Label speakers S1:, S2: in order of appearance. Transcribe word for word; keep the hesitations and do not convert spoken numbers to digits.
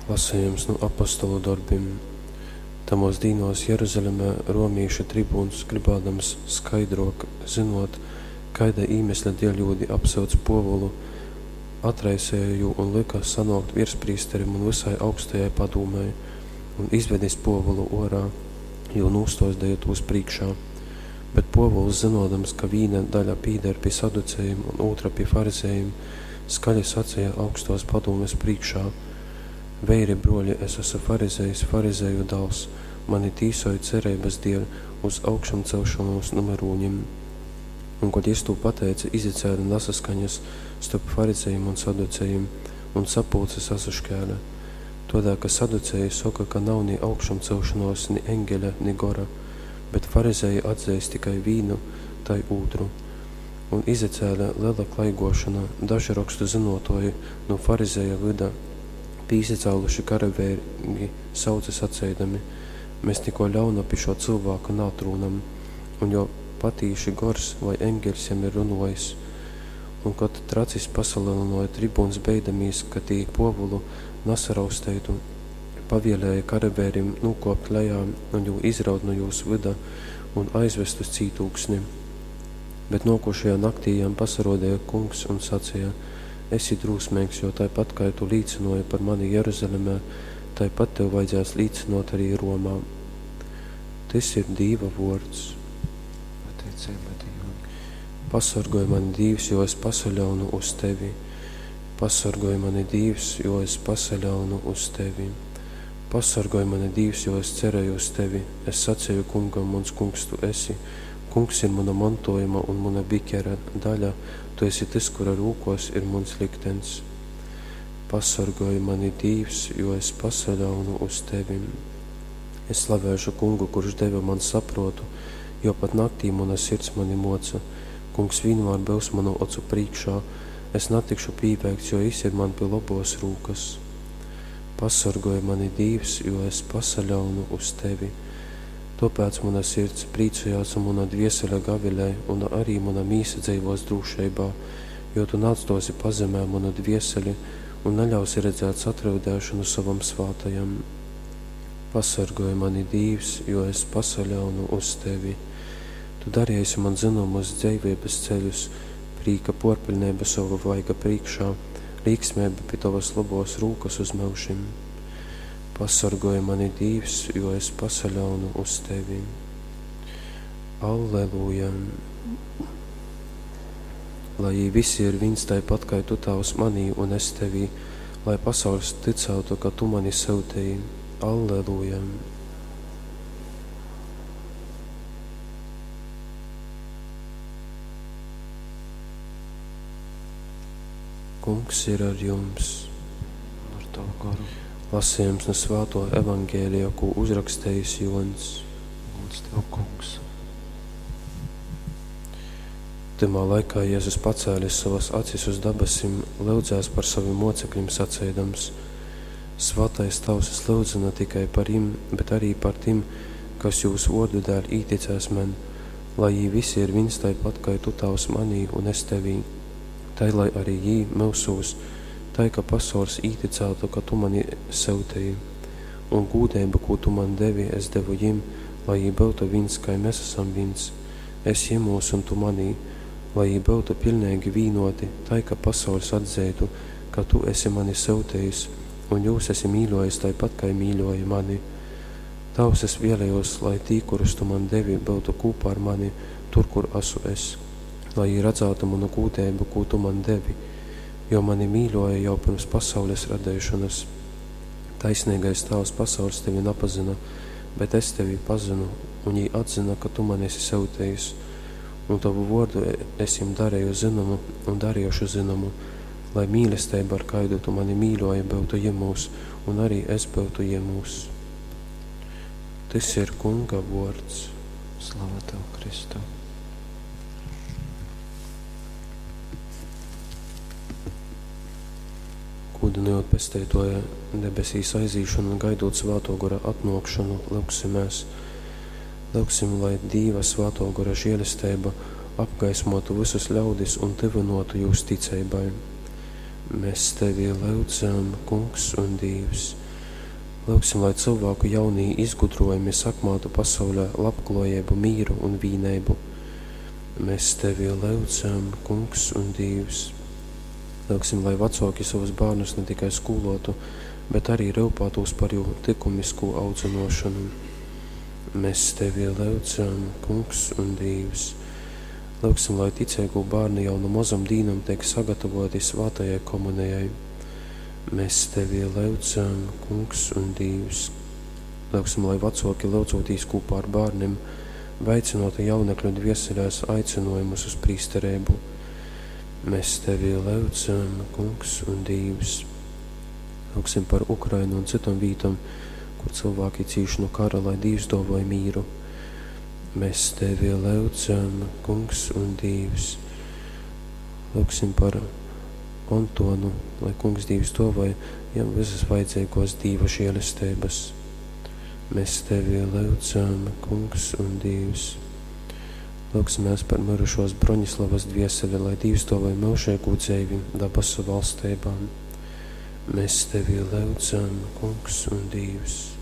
S1: Lasejums nu Apostolu dorbim. Tamōs dīnōs Jeruzalemē romīšu tribūns, grybādams skaidrōk zynōt, kaida īmesļa dēļ jūdi apsyudz Pōvulu, atraiseja jū un lyka sanōkt viersprīsterim un vysai augstajai padūmei, un, izvedis Pōvulu ōrā, jū nūstōdeja tūs prīškā. Bet Pōvuls, zynōdams, ka vīna daļa pīdar pi saducejim un ūtra pi farizejim, skaļi saceja augstōs padūmes prīškā: Veiri, brōļi, es asu farizejs, farizeju dāls, mani tīsoj cereibas dēļ uz augšamceļšonūs nu myrūnim. Un, kod jys tū pateice, izacēle nasaskaņas storp farizejim un saducejim, un sapulce sasaškēle. Tōdēļ ka saduceji soka, ka nav ni augšamceļšonōs, ni eņgeļa, ni gora, bet farizeji atzeist kai vīnu, tai ūtru. Un izacēle lela klaigōšona, daži Rokstu zynōtōji nu farizeju vyda pīsacāluši karaveireigi sauce saceidami: Mes nikō ļauna pi šō cylvāka naatrūnam, un jo patīši gors vai eņgeļs jam ir runōjis. Un, kod tracis pasalelynōja, tribūns, beidamīs, ka tī Pōvulu nasarausteitu, pavēlēja karaveirim nūkōpt lejā un jū izraut nu jūs vyda un aizvest uz cītūksni. Bet nōkušajā naktī jam pasarōdeja Kungs un saceja: Esi drūsmeigs, jo taipat kai tu līcynōji par mani Jeruzalemē, taipat tev vajadzēs līcynōt ari Romā. Tys ir Dīva vōrds.
S2: Pateiceiba Dīvam.
S1: Pasorgoj mani, Dīvs, jo es pasaļaunu uz tevi. Pasorgoj mani, Dīvs, jo es pasaļaunu uz tevi. Pasorgoj mani, Dīvs, jo es cereju uz tevi. Es saceju Kungam: Muns Kungs tu esi. Kungs ir muna montojuma un muna bikera daļa, tu esi tys, kura rūkōs ir muns likteņs. Pasorgoj mani, Dīvs, jo es pasaļaunu uz tevi. Es slavēšu Kungu, kurš deve man saprōtu, jo pat naktī muna sirds mani moca. Kungs vienmēr byus manu ocu prīškā, es natikšu pīveikts, jo jis ir man pi lobōs rūkas. Pasorgoj mani, Dīvs, jo es pasaļaunu uz tevi. Tōpēc muna sirds prīcojās un muna dviesele gavilej, un arī muna mīsa dzeivōs drūšeibā, jo tu naatstōsi pazemē munu dvieseli un naļausi redzēt satryudēšonu sovam svātajam. Pasorgoj mani, Dīvs, jo es pasaļaunu uz tevi. Tu dareisi man zynomus dzeiveibas ceļus, prīka pōrpiļneiba sova vaiga prīškā, līksmeiba pi tovas lobōs rūkas uz myužim. Pasorgoj mani, Dīvs, jo es pasaļaunu uz tevi. Alleluja! Lai jī visi ir vīns taipat, kai tu, Tāvs, manī un es tevī, lai pasauļs tycātu, ka tu mani syuteji. Alleluja! Kungs ir ar jums.
S2: Un ar tavu goru.
S1: Lasījums nu Svāto evaņģēlija, kū uzrakstījis Jōņs.
S2: Gods tev, Kungs.
S1: Tymā laikā Jēzus pacēlis sovas acis uz dabasim, lyudzēs par savim mocekļim saceidams: Svātais Tavs, es lyudzu ne tikai par jim, bet arī par tim, kas jūs vōrdu dēļ īticēs man, lai jī visi ir viens taipat, kai tu, Tavs, manī un es tevī, tai lai arī jī myusūs, tai, ka pasaules īticētu, ka tu mani syutīji. Un gūdeibu, kū tu man devi, es devu jim, lai jī byutu viens, kai mēs esam viens. Es jimūs un tu manī, lai jī byutu pilnīgi vīnoti, tai, ka pasaules atzeitu, ka tu esi mani syutījis, un jūs esi mīļojis taipat, kai mīļoji mani. Tavs, es vēlējos, lai tī, kurus tu man devi, byutu kūpā ar mani, tur, kur esmu es, lai jī redzētu manu gūdeibu, kū tu man devi, jo mani mīļoja jau pirms pasaules radīšanas. Taisnīgais Tēvs, pasaules tevi napazina, bet es tevi pazinu, un jī atzina, ka tu mani esi syutījis. Un tavu vōrdu es jim darīju zinomu un darīšu zinomu, lai mīlestība, ar kaidu tu mani mīļoji, byutu jimūs, un arī es byutu jimūs. Tys ir Kunga vōrds.
S2: Slava tev, Kristu.
S1: Gūdynojot Pesteitoja debesīs aizīšanu un gaidot Svātō Gora atnōkšanu, lyugsimēs. Lyugsim, lai Dīva Svātō Gora žēlesteiba apgaismotu visus ļaudis un tyvynōtu jūs ticeibai. Mēs tevi lyudzam, Kungs un Dīvs. Lūgsim, lai cilvēku jaunī izgudrojumi sakmātu pasaulē labklājību, mīru un vīneibu. Mēs Tevi lūdzam, Kungs un Dievs. Lūgsim, lai vecāki savus bērnus ne tikai skolotu, bet arī rūpētos par jū likumisku audzināšanu. Mēs Tevi lūdzam, Kungs un Dievs. Lūgsim, lai ticīgo bērni jau no mazam dīnam tiek sagatavoti svētajai komunijai. Mēs Tevi lūdzam, Kungs un Dievs. Lūgsim, lai vecāki lūdzotīs kopā ar bērniem, veicinotu jaunekļu dvieselēs aicinājumus uz prīsterību. Mēs Tevi lūdzam, Kungs un Dievs. Lūgsim par Ukrainu un citam vītam, kur cilvēki cīš no kara, lai Dievs dāvāj mīru. Mēs Tevi lūdzam, Kungs un Dievs. Lūgsim par Antonu, lai Kungs Dievs dāvāj jam visas vajadzīgos Dieva žēlestības. Mēs Tevi lūdzam, Kungs un Dievs. Lūgsimies par mirušos Broņislavas dvieseli, lai Dievs dāvāj mūžīgu dzīvi dabasu valstībām. Mēs Tevi lūdzam, Kungs un Dievs.